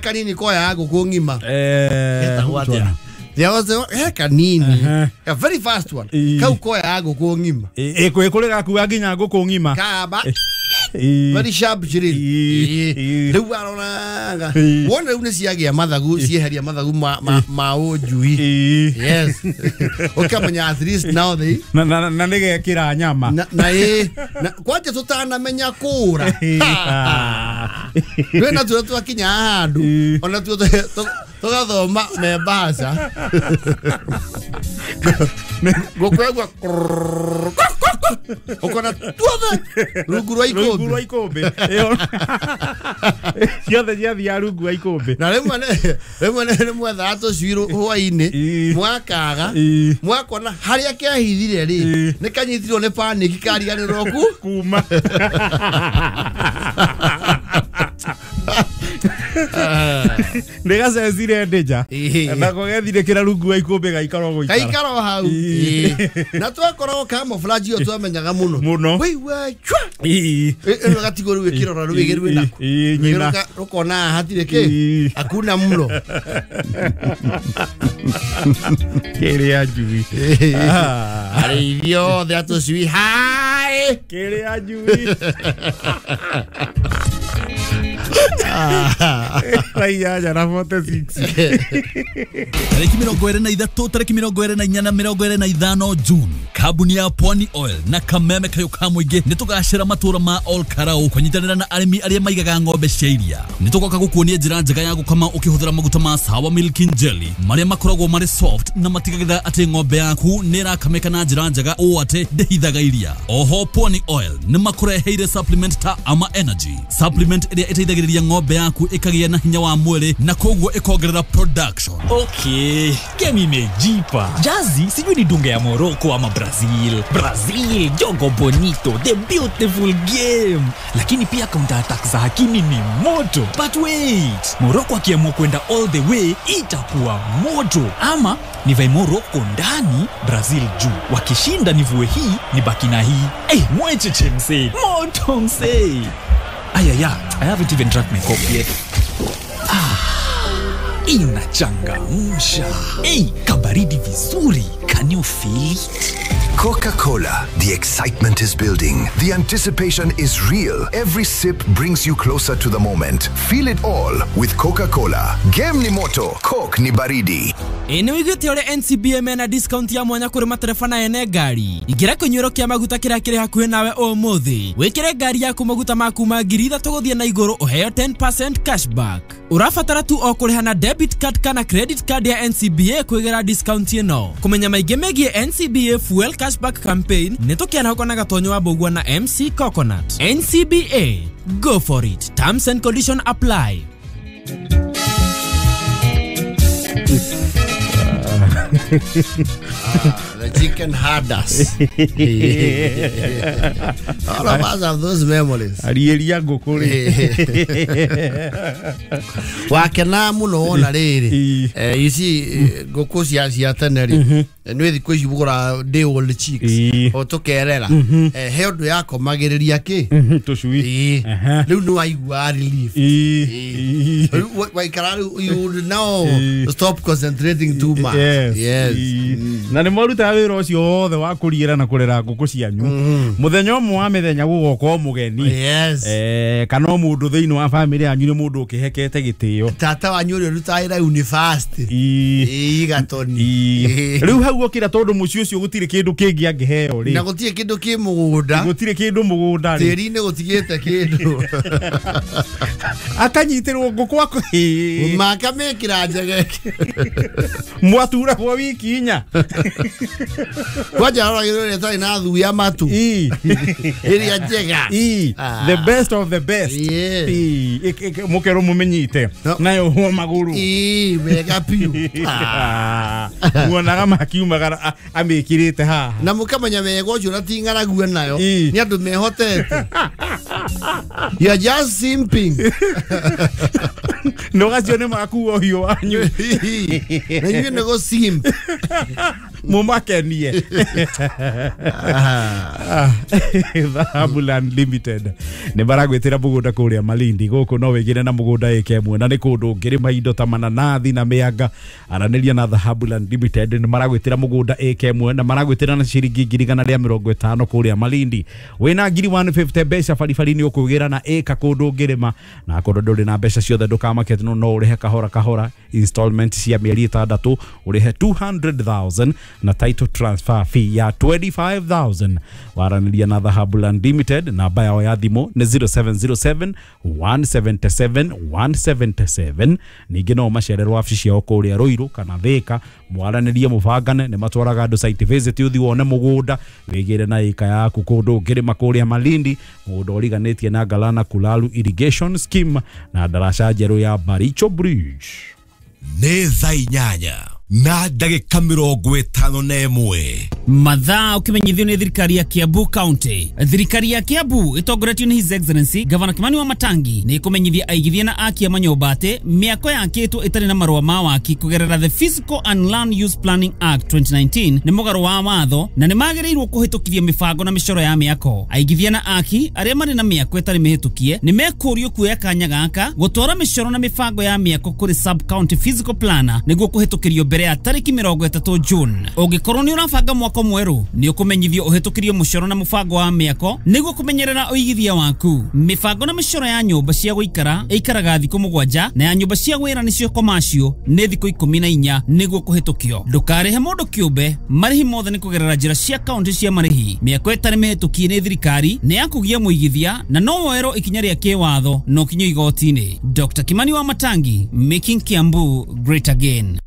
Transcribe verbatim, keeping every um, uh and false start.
Kanini koya ngũkũ ng'ima. Eh, Getagwo atĩa? There was a he kanini. A very fast one. Kau koya ngũkũ ng'ima. Ĩ kwĩ kũrĩ gakua nginya ngũkũ ng'ima. Kaba. Very sharp chiri. Rĩu aroraga. Wona rĩu nĩ ciagĩa mathagu, cieheria mathagu ma ma ma ũnjui. Yes. Ũkamenya at least now they na na na nĩgekĩra nyama. Na na ĩ na kwanja tũtanamenya kũra. Rĩu na tuo twakinya handũ ona tuo tũgathoma me mbaca. Ngũkwegua ukona tuothe rungu rwa ikũmbĩ. Rungu rwa ikũmbĩ. Ciothe ciathiaga rungu rwa ikũmbĩ. Na rĩmwe rĩmwe nĩ mwethaga tũcui hwainĩ mwakaga mwakona harĩa kehithire rĩ nĩ kanyitirwo nĩ panic kariganĩrwo ku kuma. Nĩgacecire ndĩja nako gethire rungu rwa ikũmbĩ gaikara gũikara gaikara hau. Na twakoragwo camouflage ĩyo twamenyaga mũno mũno. Wĩigua chwa ĩno gatigwo rĩu ĩkĩrora rwĩgĩ rwĩnako rũkona hatirĩ kĩ hakuna mlo. Kĩrĩa njui arĩithi othe a tũcui hai kĩrĩa njui. Raiya na forty-six. Tariki mĩrongo ĩrĩ na ithatũ tariki mĩrongo ĩrĩ na inya na mĩrongo ĩrĩ na ithano June kambuni ya Pwani Oil na kameme kayo ka mũingĩ nĩ tũgacĩra matũra ma Ol Karau kũnyitanĩra na arĩmi arĩa maigaga ng'ombe cia iria. Nĩ tũgoka gũkuonia njĩra njega ya gũkama ũkĩhũthĩra maguta ma Sawa Milk and Jelly marĩa makoragwo marĩ soft na matigagĩrĩra atĩ ng'ombe yaku nĩ ĩrakamĩka na njĩra njega ũũ atĩ ndĩhithaga iria. Oho Pwani Oil nĩ makũreheire supplement ta Ama Energy, supplement ĩrĩa ĩteithagĩrĩria ng'ombe yaku ĩkagĩa na hinya wa mwĩrĩ na koguo ĩkongerera production. Okay, game imejipa. Jazi sijui ni dunga ya Morocco ama Brazil. Brazil, jogo bonito, the beautiful game. Lakini pia counter attack za Hakimi ni moto. But wait, Morocco akiamua kwenda all the way itakuwa moto. Ama nivae Morocco ndani, Brazil juu. Wakishinda nivue hii, nibaki na hii. Eh, hey, mwecheche msee. Moto msee. Ayaya, I haven't even drank my coffee yet. Ah, inachangamsha. Hey, kabaridi vizuri. Can you feel it? Coca-Cola. The excitement is building. The anticipation is real. Every sip brings you closer to the moment. Feel it all with Coca-Cola. Game ni moto, Coke ni baridi. Ĩ wiguĩte ũrĩa N C B A mena discount ya mwanya kũrĩ matereba na ene ngari. Ingĩra kĩnyuĩro kĩa maguta kĩrĩa kĩrĩ hakuhĩ nawe ũmũthĩ. Wĩkĩre ngari yaku maguta ma kuma ngiri ithatũ gũthiĩ na igũrũ ũheo ten percent cashback. Ũrabatara tu o kũrĩha na debit card kana credit card ya N C B A kwĩgĩra discount ĩno. Kũmenya maingĩ megiĩ N C B A Fuel Cashback Campaign nĩ tũkĩarahũka na Gatonyo wa Mbũgua na M C Coconut. N C B A, go for it. Terms and conditions apply. Ah, the chicken herders. All of us have those memories. Arieria ngũkũ rĩ. Wakena mũno wona rĩrĩ. Eh, you see ngũkũ cia cia tene rĩ. Nĩ thikũ ici bugũra day old chicks. O tũkerera. Eh, he ũndũ yakomagĩrĩria kĩ? Tũcui. Rĩu nĩ waigua relief. Waikara rĩu you would now stop concentrating too much. Yes. Yes. Na nĩ mwarutaga wĩra ũcio wothe wa kũriĩra na kũrera ngũkũ cianyu. Mũthenya ũmwe wa mĩthenya gũgoka o mũgeni. Yes. Eh, kana o mũndũ thĩinĩ wa family yanyu nĩ mũndũ ũkĩhekete gĩtĩo. Tata wanyu ũrĩa ũrutaga wĩra university. Ii Gatoni. Rĩu hau okĩra tondũ mũciĩ ũcio gũtirĩ kĩndũ kĩngĩ angĩheo rĩ. Na gũtirĩ kĩndũ kĩ mũgũnda. Gũtirĩ kĩndũ mũgũnda rĩ. Tĩri-inĩ gũtigĩte kĩndũ. Akanyitĩrwo ngũkũ ako. Makamĩkĩra njegeke. Mwaturagwo wiki inya. Kwanja aroragĩrwo ĩrĩa ĩtarĩ na thuya matu. Ĩrĩa njega. The best of the best. Mũkerwo mũmĩnyite nayo hwo magũrũ. Ii wega biũ. Muonaga makiumagara amĩkĩrĩte haha. Na mũkamenya wega ũcio na ti ng'aragu nayo nĩ andũ mehotete. You are just simping. No gacio nĩ makuo ũhiũ wanyu. Na inyuĩ nĩ gũ simp. Mumakenie. Dhahabu Land Limited nĩ maragwĩtĩra mũgũnda kũrĩa Malindi gũkũ no wĩgĩre na mũgũnda ĩka ĩmwe na nĩ kũndũ ũngĩrĩma indo ta mananathi na mĩanga. Aranĩria na Dhahabu Land Limited nĩ maragwĩtĩra mũgũnda ĩka ĩmwe na maragwĩtĩra na ciringi ngiri igana rĩa mĩrongo ĩtano kũrĩa Malindi. Wĩna ngiri one fifty mbeca baribari nĩ ũkwĩgĩra na ĩka kũndũ ũngĩrĩma na kũndũ ndũrĩ na mbeca ciothe ndũkamake no no ũrĩhe kahora kahora installment cia mĩeri ĩtandatũ ũrĩhe two hundred thousand na title transfer fee ya twenty-five thousand. Waranĩria na Dhahabu Land Limited namba yao ya thimũ nĩ zero seven zero seven one seven seven one seven seven. Ningĩ no macererwo wabici ciao kũrĩa Ruiru kana Thika mwaranĩrie mũbangane nĩ matwaraga andũ site visit ũthiĩ wone mũgũnda wĩgĩre na ĩka yaku kũndũ ũngĩrĩma kũrĩa Malindi mũgũnda ũriganĩtie na Galana Kulalu Irrigation Scheme na ndaraca njerũ ya Baricho Bridge. Nĩ thaa inyanya na ndagĩka mĩrongo ĩtano na ĩmwe. Mathaa ũkĩmenyithio nĩ thirikari ya Kiambu County. Thirikari ya Kiambu ĩtongoretio nĩ His Excellency Governor Kimani wa Matangi nĩ ĩkũmenyithia aigithia na aki a manyũmba atĩ mĩako yakĩtwo ĩtarĩ na marũa ma waki kũgerera The Physical and Land Use Planning Act twenty nineteen nĩ mũgarũ wa watho na nĩ magĩrĩirwo kũhĩtũkithia mĩbango na mĩcoro ya mĩako. Aigithia na aki arĩa marĩ na mĩako ĩtarĩ mĩhĩtũkie nĩ mekũrio kuoya kanya gaka gũtwara mĩcoro na mĩbango ya mĩako kũrĩ sub county physical planner nĩguo kũhĩtũkĩrio mbere ya tarĩki mĩrongo ĩtatũ June. Ũngĩkorwo nĩ ũrabanga mwako mwerũ nĩ ũkũmenyithio ũhĩtũkĩrio mũcoro na mũbango wa mĩako nĩguo kũmenyerera ũigithia waku. Mĩbango na mĩcoro ya nyũmba cia gũikara ĩikaraga thikũ mũgwanja na ya nyũmba cia wĩra nĩcio commercial nĩ thikũ ikũmi na inya nĩguo kũhĩtũkio. Ndũkarĩhe mũndũ kĩũmbe, marĩhi mothe nĩ kũgerera njĩra cia kaunti cia marĩhi. Mĩako ĩtarĩ mĩhĩtũkie nĩ thirikari nĩ ya kũgia mũigithia na no woerwo ikinya rĩa kĩwatho no kinyo igoti-inĩ. Doctor Kimani wa Matangi, making Kiambu great again.